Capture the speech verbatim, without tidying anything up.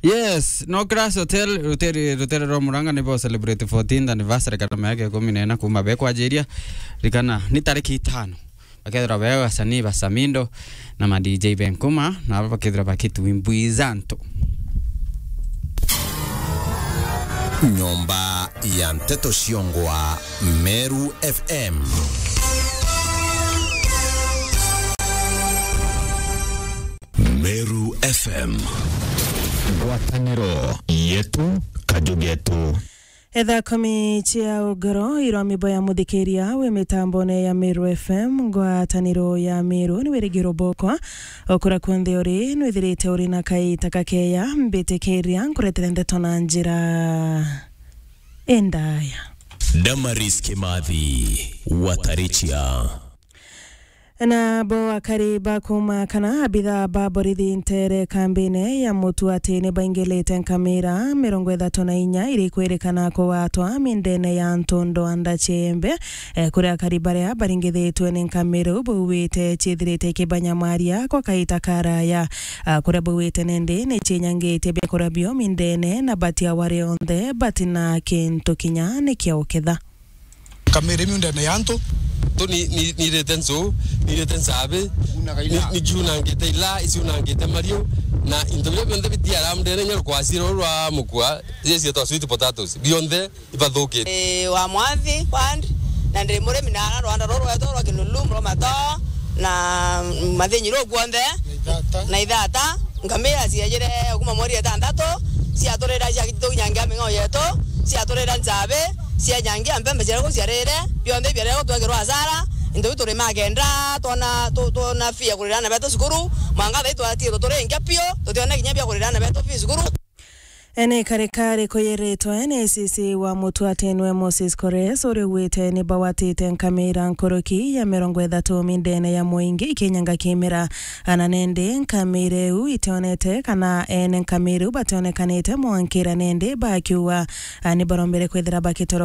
Yes, no Class Hotel, rutere, rutere rwa Murang'a nibo celebrate fourteenth anniversary kana miaka ikumi na ina kuma bekwajiria. Rikana, ni tariki itano. Bakethirwa be asanii ba Samindo na ma D J Benkuma, na aba bakethirwa bakitwimbwizantu. Nyomba ya nteto ciongwa Meru F M. Meru F M. Ngwataniro yetu, kaju getu. Etha komi cia ugoro irwa mibo ya muthikiria wi mitambone ya Meru F M, ngwataniro ya Meru ni wirigiro bokwa. Okura kunthe uri, nwithirite uri na kaita kakeya, mbitikiria nkuretere ndeto na njira indaya. Damaris Kimathi, Watarichia. Na bo akari ba kuma kana abitha ba borithi ntere kambine ya Mutu ati ni baingilite nkamira mirongo ithatu na inya iri kwirikana kugwatwa mindene ya ntundo anda ciembe, eh, kuri akari baria baringithitwe ni nkamira u bauite ciithirite ikibanyamaria kwa kaita karaya. Ah, kuria bauite nindi ni cienyangitie biakuria bio mindene na batia wari onthe batina kintu kinya ni kia uketha. Kamere miundene ya antu. Tu ni, ni, nirite ncu, nirite ncabi, ni, ni ciunangite ila, iciunangite mariu, na into biria bionthe bitiara mdene nyo rwa kwasi ruru rwa mukua, cie cietwa sweet potatoes, bionthe ibathukite. Ii, wa Mwathi, ward, na ndi murimi na ara rwanda ruru rwetwa rwa Kinulu, Muromato, na Mathinyi ruu kuonthe, na Ithata. Ngamia ciejire kuma mweri itantatu, ciaturira ciakitu nyangia ming'ao yetu, ciaturira ncabi, cienyangia mpembe ciria kuu ciarire, bionthe biarire gutwekirwa hasara, into biu turi magenda, twona, tu-, twona fee ya kurira ana betu cukuru, mwanka thaa ii twatigirwe turi nkia piu, tutiona kinya bia kurira ana betu fee cukuru. Ene karikari kuyiritwe ni A C C wa Mutu ati nwe Moses Kores, uria ugwite ni bawatite nkamira nkuruki ya mirongo ithatu mindene ya mwingi ikinyanga kimira. Ana nende nkamira iu itionete kana ene nkamira iu bationekanite mwankira nende bakiuga, a, ni barombere kwithira bakitoro